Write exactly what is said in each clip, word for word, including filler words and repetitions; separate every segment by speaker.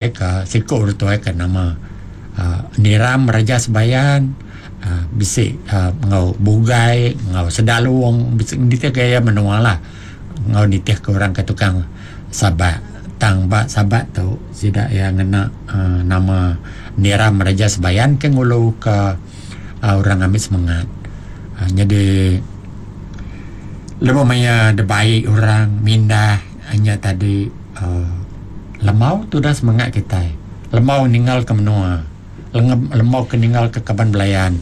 Speaker 1: Ke siku orang tuai ke nama uhh Niram Raja Sebayan uhh bisi uhh enggau Bugai enggau Sedalong bisi nitih gaya menua lah enggau nitih ke orang ke tukang sabak. Tang ba sabak tu sida iya ngena uhh nama Niram Raja Sebayan ke ngulu ka uhh orang ngambi semengat. uhh Nyadi lebuh maya dibai orang mindah inya tadi uhh lembau tudah semengat kitai. Lembau ninggal ke menua. Lembau ke ninggal ke kaban belayan.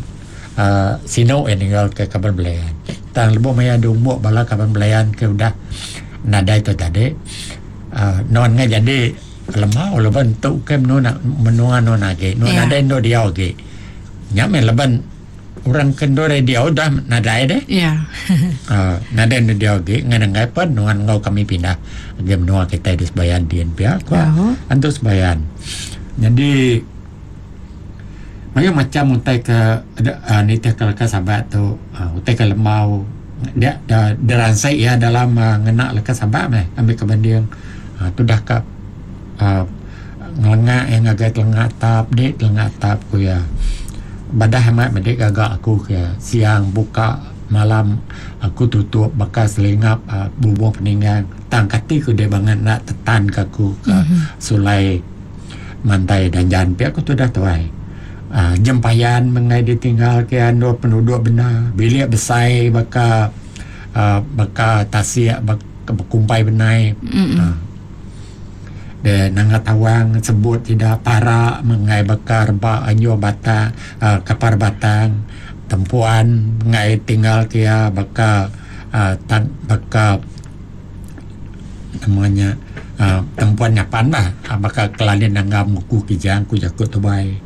Speaker 1: uhh Sinu iya ninggal ke kaban belayan. Tang lebuh maya diumbuk bala kaban belayan ke udah nadai tu tadi uhh nuan ngai jadi lembau laban tu ke menua menua nuan agi. Nuan nadai endur diau agi. Nya meh laban orang ke endur diau udah nadai deh. uhh Nadai endur diau agi ngan enggai pen nuan enggau kami pindah agi menua kitai di Sebayan din pia ko antu Sebayan. Nyadi mayuh macam utai ke uhh nitih ke leka sabak tu uhh utai ke lembau dia diransai iya dalam ngena leka sabak meh ambi ke banding uhh tudah ka uhh ngelenga iya ngagai telenga atap di telenga atap ku iya. Badah amat madi gaga aku ke siang buka malam aku tutup baka selingap uhh bubong peninggang tang kati ku deh bangat enda tetan ka aku ke sulai mantai danjan pia ku tudah tuai. uhh Jempayan menggai ditinggal ke endur penduduk bendar bilik besai baka uhh baka tasik baka bekumpai benai uhh De nanga tawang sebut sida para menggai baka reba anjung batang uhh kapar batang tempuan menggai tinggal ke iya baka uhh tan baka nama nya uhh tempuan nyapan lah baka kelalin nanggam ku kijang ku jaku tubai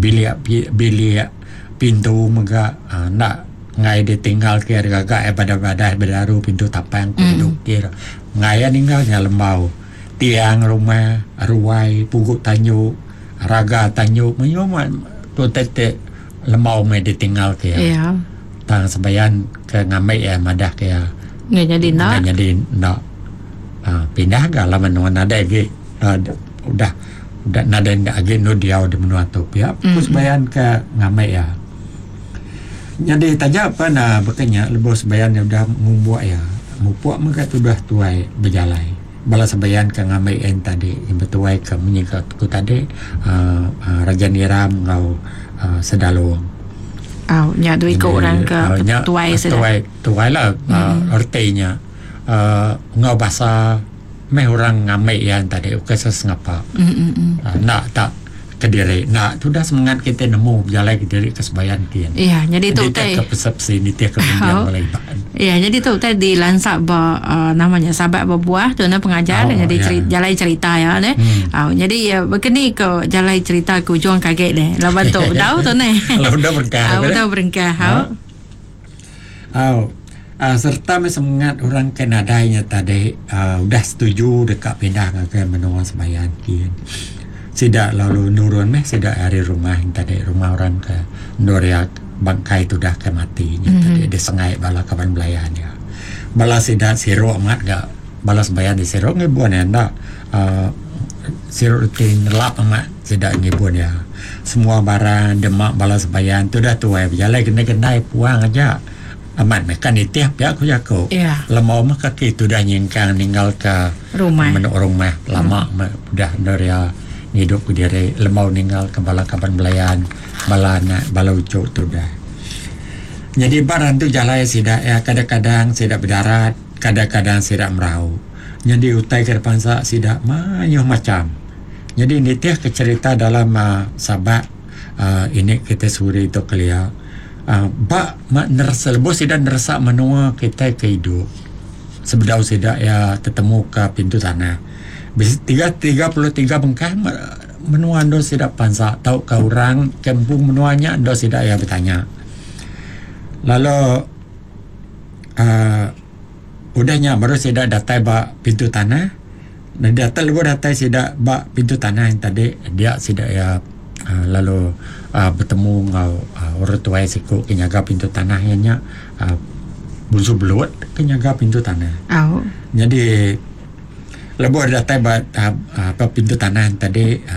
Speaker 1: bilik bilik pintu mega uhh enda enggai ditinggal ke gaga iya badah badah bedaru pintu tapang ku dukir enggai iya ninggal nya lembau. Tiang rumah, ruai, pugu tanju, raga tanju mayuh mah utai ti lembau meh ditinggal ke iya. Tang sebayan ke ngambi iya madah ke iya.
Speaker 2: Enggai nyadi enda.
Speaker 1: Enggai nyadi enda. uhh Pindah ga laban nuan nadai agi uhh udah udah nadai enda agi endur diau di menua tu pia ku sebayan ke ngambi iya. Nyadi taja pan uhh baka nya lebuh sebayan iya udah ngumbuk iya mupuk mega tudah tuai bejalai. Bala sebayan ke ngambi en tadi betuai ke munyi ke ku tadi uhh Raja Niram enggau uhh Sedalong.
Speaker 2: Au nya dua iku orang ke tuai sida.
Speaker 1: Tuai tuai lah uhh reti nya uhh enggau basa meh orang ngambi iya tadi ukai sesengapa. Enda tak kediri enda tudah semengat kitai nemu bejalai kediri ke sebayan kin.
Speaker 2: Iya nyadi tu
Speaker 1: utai nitih ke persepsi nitih ke runding bala Iban.
Speaker 2: Iya nyadi tu utai dilansa ba uhh nama nya sabak bebuah tu nah pengajar oh, nyadi yeah. jalai cerita ya neh. Hmm. Uh, jadi uh, bekeni ke jalai cerita ke ujung kage deh. Laban tu dau tu neh.
Speaker 1: Udah berengkah.
Speaker 2: Uh, udah berengkah.
Speaker 1: Ha. Au. Uh, serta meh semengat orang ke nadai nya tadi uh, udah setuju deka pindah ngagai menua Sebayan kin. Sida lalu nurun meh sida ari rumah tadi rumah orang ke endur iya bangkai tudah ke mati nya mm-hmm. tadi disengai bala kaban belayan iya. Bala sida siru amat ga bala Sebayan di siru ngibun iya enda uh, siru reti nelap amat sida ngibun iya. Semua barang demak bala Sebayan tudah tuai bejalai gendai-gendai puang aja. Amat meh kan nitih pia ku jaku.
Speaker 2: Yeah.
Speaker 1: Lembau meh kaki tudah nyingkang ninggal ke
Speaker 2: rumah.
Speaker 1: Menuk rumah lama meh udah endur iya ngidup ke diri lembau ninggal ke bala kaban belayan, bala anak, bala uchu tudah. Nyadi ba rantu jalai sida iya kadang-kadang sida bedarat, kadang-kadang sida merau. Nyadi utai ke dipansa sida mayuh macam. Nyadi nitih ke cherita dalam uhh sabak uhh ini kitai suri tu kelia. Ba neresa lebuh sida neresa menua kitai ke idup sebedau sida iya tetemu ka pintu tanah. Bisi tiga tiga puluh tiga bengkah menua endur sida pansa tauka orang ke empu menua nya endur sida iya betanya. Lalu uhh udah nya baru sida datai ba pintu tanah. Datai lebuh datai sida ba pintu tanah nya tadi dia sida iya uhh lalu uhh betemu enggau uhh orang tuai siku ke nyaga pintu tanah iya nya uhh Bunsu Belut ke nyaga pintu tanah.
Speaker 2: Au.
Speaker 1: Nyadi Lebuh datai ba apa pintu tanah tadi.